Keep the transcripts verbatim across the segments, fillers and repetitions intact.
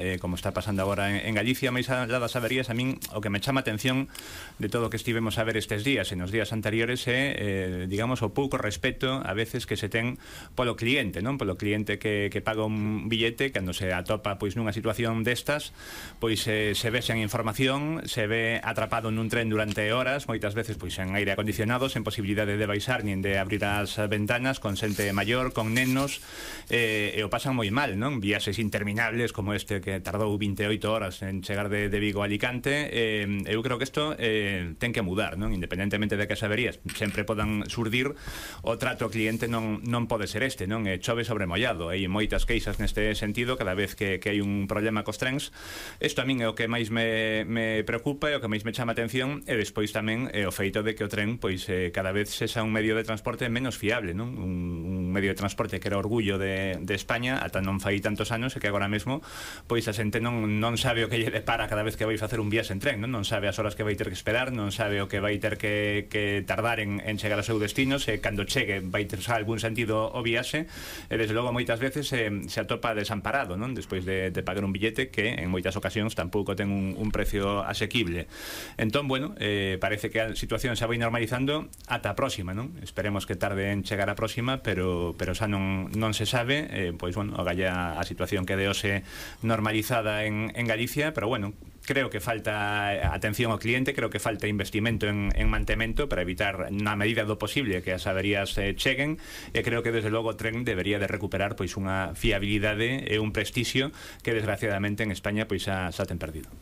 eh, como está pasando agora en, en Galicia, máis alá das averías, a min o que me chama atención de todo o que estivemos a ver estes días e nos días anteriores é, eh, digamos, o pouco respeto a veces que se ten polo cliente, non? Polo cliente que, que paga un billete, cando se atopa pois nunha situación destas, pois eh, se ve sen información, se ve atrapado nun tren durante horas, moitas veces pois en aire acondicionado, sen posibilidade de baixar nin de abrir as ventanas, con xente maior, con nenos, eh, e o pasan moi mal, non? Viaxes interminables como este que tardou vinte e oito horas en chegar de, de Vigo a Alicante. eh, eu creo que isto eh, ten que mudar, non? Independentemente de que as averías sempre podan surdir, o trato ao cliente non, non pode ser este, non? E chove sobre mollado, hai moitas queixas neste sentido cada vez que, que hai un problema cos trens. Isto a min é o que máis me, me preocupa e o que máis me chama atención, e despois tamén é o feito de que o tren pois eh, cada vez sexa un medio de transporte menos fiable, non? Un, un medio de transporte que era orgullo de, de España ata non fai tantos anos, e que agora mesmo pois a xente non, non sabe o que lle depara cada vez que vai facer un viaxe en tren, non? Non sabe as horas que vai ter que esperar, non sabe o que vai ter que, que tardar en, en chegar ao seu destino, se cando chegue vai ter xa algún sentido o viaxe, e desde logo moitas veces se, se atopa desamparado, non? Despois de, de pagar un billete que en moitas ocasións tampouco ten un, un precio asequible. Entón, bueno, eh, parece que a situación xa vai normalizando ata a próxima, non? Esperemos que tarde en chegar a próxima, pero, pero xa non, non se sabe, eh, pois, bueno, agalla a situación que deose normalizada en, en Galicia, pero bueno, creo que falta atención ao cliente, creo que falta investimento en, en mantemento para evitar na medida do posible que as averías eh, cheguen, e creo que desde logo o tren debería de recuperar pois unha fiabilidade e un prestixio que desgraciadamente en España pois xa, xa ten perdido.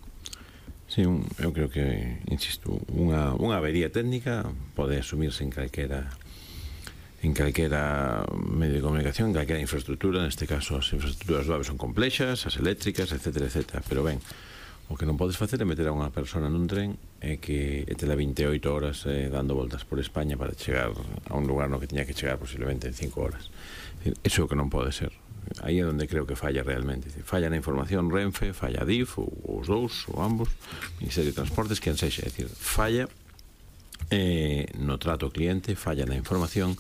Sí, un, eu creo que, insisto, unha, unha avería técnica pode asumirse en calquera en calquera medio de comunicación, en calquera infraestructura. Neste caso as infraestructuras do A V E son complexas, as eléctricas, etcétera, etcétera, pero ben, o que non podes facer é meter a unha persona nun tren e que e tela vinte e oito horas eh, dando voltas por España para chegar a un lugar no que tiña que chegar posiblemente en cinco horas. Eso é o que non pode ser. Aí é onde creo que falla realmente. Falla na información Renfe, falla D I F, ou os dous, ou ambos, Ministerio de Transportes, quen sexa. É dicir, falla eh, no trato ao cliente, falla na información.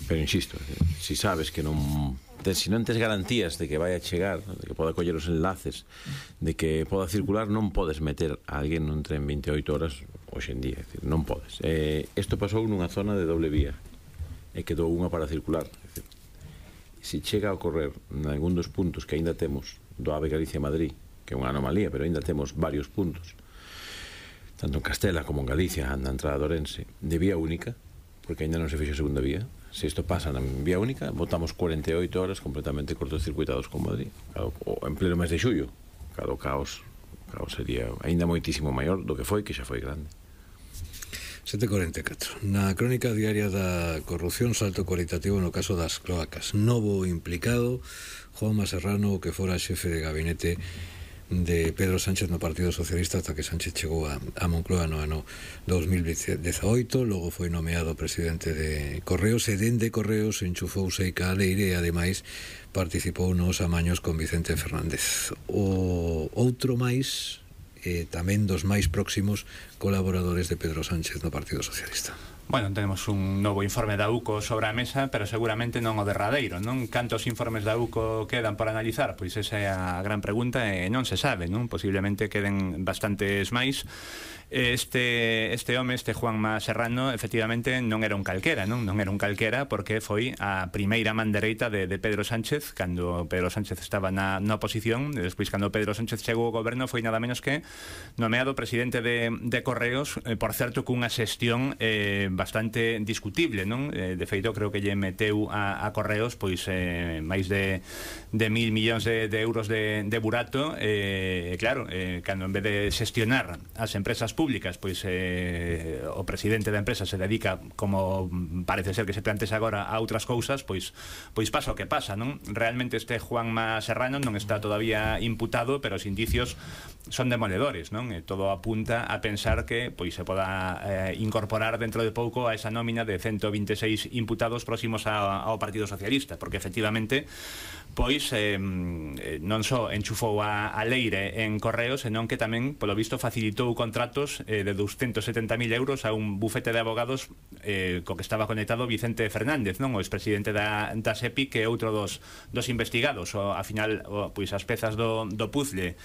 Pero insisto, si sabes que non tes, si non tes garantías de que vai a chegar, de que poda coller os enlaces, de que poda circular, non podes meter a alguén nun tren vinte e oito horas hoxe en día, é dicir, non podes. Eh, isto pasou nunha zona de doble vía e quedou unha para circular. É dicir, si chega a ocorrer en algún dos puntos que aínda temos do A V E Galicia-Madrid, que é unha anomalía, pero aínda temos varios puntos, tanto en Castela como en Galicia, na entrada de Ourense, de vía única, porque aínda non se fixo a segunda vía. Se isto pasa na vía única, botamos cuarenta e oito horas completamente cortocircuitados con Madrid, claro, en pleno mes de xullo. Claro, o caos, caos sería aínda moitísimo maior do que foi, que xa foi grande. sete cuarenta e catro. Na crónica diaria da corrupción, salto cualitativo no caso das cloacas. Novo implicado, Juanma Serrano, que fora xefe de gabinete de Pedro Sánchez no Partido Socialista ata que Sánchez chegou a, a Moncloa no ano dos mil dezaoito, logo foi nomeado presidente de Correos, e dende Correos enchufouse a Leire e ademais participou nos amaños con Vicente Fernández. O outro máis, eh, tamén dos máis próximos colaboradores de Pedro Sánchez no Partido Socialista. Bueno, tenemos un novo informe da U C O sobre a mesa, pero seguramente non o derradeiro, non? Cantos informes da U C O quedan por analizar? Pois esa é a gran pregunta e non se sabe, non? Posiblemente queden bastantes máis. Este, este home, este Juanma Serrano, efectivamente non era un calquera, non? Non era un calquera porque foi a primeira man dereita de, de Pedro Sánchez cando Pedro Sánchez estaba na, na oposición, e despois cando Pedro Sánchez chegou ao goberno foi nada menos que nomeado presidente de, de Correos, eh, por certo cunha xestión eh, bastante discutible, non? Eh, de feito, creo que lle meteu a, a Correos pois eh, máis de, de mil millóns de, de euros de, de burato, e eh, claro, eh, cando en vez de xestionar as empresas públicas, pois eh, o presidente da empresa se dedica, como parece ser que se plantexa agora, a outras cousas, pois pois pasa o que pasa, non? Realmente este Juanma Serrano non está todavía imputado, pero os indicios son demoledores, non? E todo apunta a pensar que pois se poda eh, incorporar dentro de pouco pouco a esa nómina de ciento veintiséis imputados próximos a, ao Partido Socialista, porque efectivamente pois eh, non só enchufou a, a leire en correos, senón que tamén, polo visto, facilitou contratos eh, de doscientos setenta mil euros a un bufete de abogados eh, co que estaba conectado Vicente Fernández, non, o expresidente da, da SEPI, que é outro dos, dos investigados. O, a final, o, pois as pezas do, do puzzle